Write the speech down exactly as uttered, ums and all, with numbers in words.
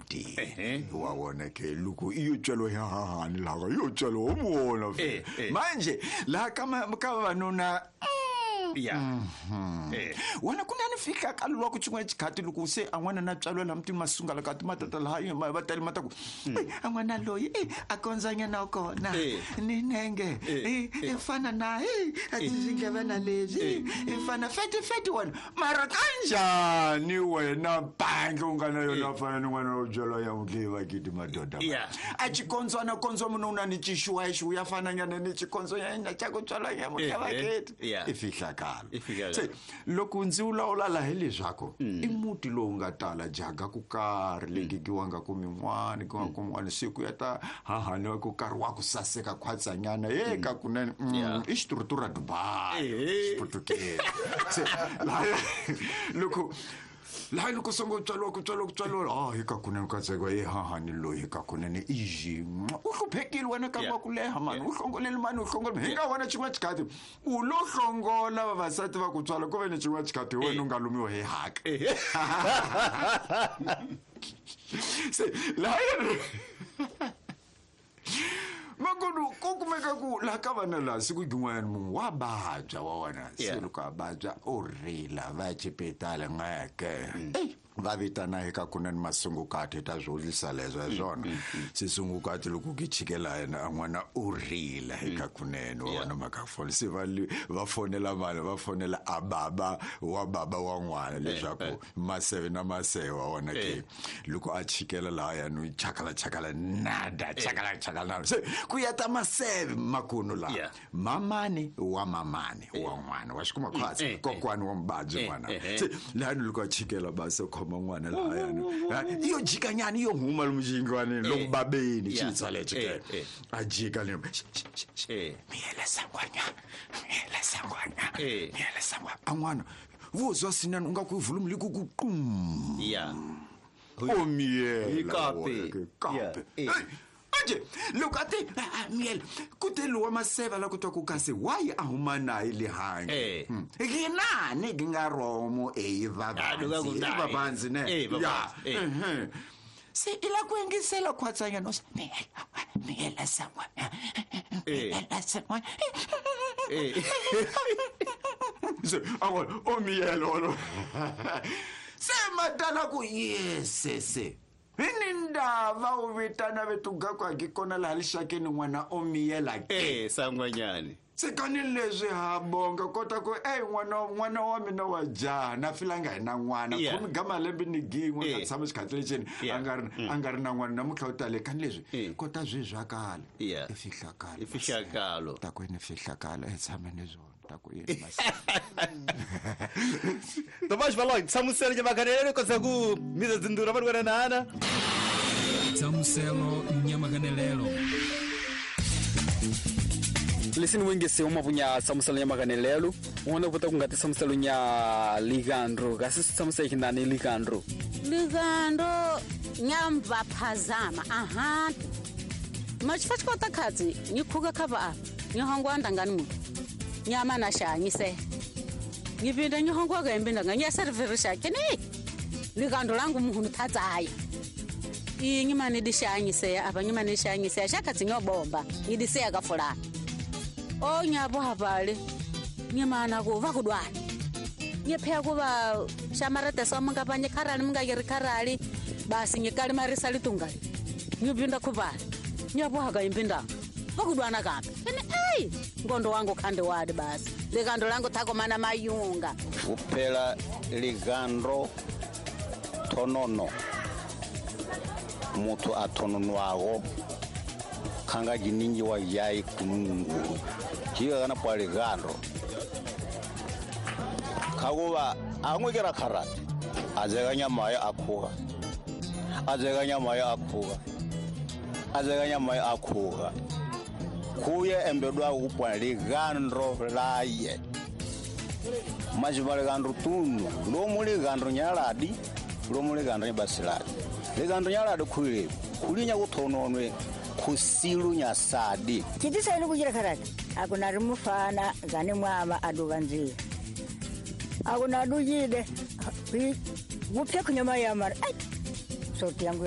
Mutini wa wona ke loko iyo tswelo ya hahani laha yo tswelo o muona manje laha ka ka vavanuna ya eh wena ku na ni fika ka lwa ku tshin'we xikhati loko se a n'wana na tswalo la mutini masungala ka timatata laha va tali mata ku a n'wana loyi a kondzanyana kona ni nenge i fana na a tindlevana leswi i fana feti feti wena mara kanjhani wena bangi u nga na yona fana ni n'wana wo byalwa ya mudliva kiti madoda a xikondzwana kondzo munhu u na ni xixuwaxu ya fananyana ni xikondzonyana xa ku tswalwa ya mudliva kiti i fihlakalo se loko ndzi vulavula laha hi leswaku i muti lowu nga tala jaga ku karhi legigiwanga ku min'wana ku ku min'wana siku ya ta hahani ku karhi wa ku saseka khwatsanyana ye ka kunene i xiturhuturha Dubai xiputukezi se laha loko laha loko songo tswaliwa ku tswaliwa ku tswaliwa ah hi ka kunene ka tseko ye hahani loyi hi ka kunene i u hluphekile wena ka wa ku leha mani u hlongoleli mani u hlongoleli hi nga wena xin'wana xikhati u lo hlongola vavasati va ku tswala ku ve ni xin'wana xikhati hi wena u nga lumiwa hi haka se laha makono ku kumeka ku laha ka vana laha siku rin'wana munhu wa vabya wa wena se loko a vabya u rila va ya xipitali ngeke va vitana eka kunene masungukati ta swolisa leswo hi swona sisungukati loko ki chikela yena a n'wana u rila eka kunene wa wona makafoni se va va fonela vanhu va fonela a baba wa baba wa n'wana leswaku maseve na maseve wa wona ke loko a chikela laha ya no chakala chakala nada chakala chakala se ku ya ta maseve makuno laha mamani wa mamani wa n'wana wa xikuma khwatsi kokwani wa mubabyi n'wana se laha loko a chikela base khoma n'wana lahayani iyo jikanyana iyo huma lomu lomu babeni xitsale chikela a jika le miyela sangwanya miyela sangwanya miyela sangwanya a n'wana vuzwa sinani u nga ku volume li ku ku qum ya o miyela kape kape anje loko a te miyela ku te lowa maseva la ku twa ku kasi why a huma naye le handle ginani gi nga romo e vavanzi vavanzi ne ya se i la ku yingisela khwatsanyana miyela miyela sangwana miyela sangwana se a o miyela olo se madala ku yesese hi ndava u vitana vetuga ku a kona laha lixakeni n'wana o miyela ke eh sangwanyani se kani leswi ha bonga kota ku ey n'wana n'wana wa mina wa jaha na filanga hi na n'wana khume ga malembe ni gin'we ka tshama xikhatsi lexini a nga ri a nga ri na n'wana namuntlha u tale kani leswi kota swi zwakala i fihlakalo i fihlakalo ta ku ni fihlakalo e tshama ni zwona ta ku yini Tomasz Valoi tsamuselo nyamaganelelo kotsa ku miza dzindura vari wena nana tsamuselo nyamaganelelo Listen wengese umavunya tsamuselo nyamaganelelo un'wana vota ku nga ti tsamuselo nya ligandro kasi tsamuselo xinani ligandro ligandro nyamba phazama aha machifachikota khatsi nyikhuka khava nyihongwa ndangani mu nyama na shanyise ngipinda nyihongwa ka impinda nganyaseriverisha kene ligandro langu muhunu thatsaya inyimane dishanyise apa nyimane shanyise shakatsi nyobomba ngidise ka fulana o nyabo havale nyimana ku va kudwana nyephea kuva shamarete somunga panye kharali munga yeri kharali basi nyikali marisa litungali nyipinda kuvala nyabo haka impinda va kudwana kambe ene ei ngondo wangu khande wadi basi ligandro langu thakomana mayunga uphela ligandro thonono muthu a thononwago khanga jininji wa yai kunungulu jiga kana pa ligandro khakuva angwekera kharati azeka nyama ya akhuga azeka nyama ya akhuga azeka nyama ya akhuga kuye embedwa kupwa ligandro laye majiba ligandro tunu lomu ligandro nyaladi lomu ligandro basiladi ligandro nyaladi khulile khulinya kuthononwe khusilu nyasadi chitisaini kuchira kharati akuna rimufana gane mwama aduvanzira akuna dujide kupye kunyama ya mara ai soti yangu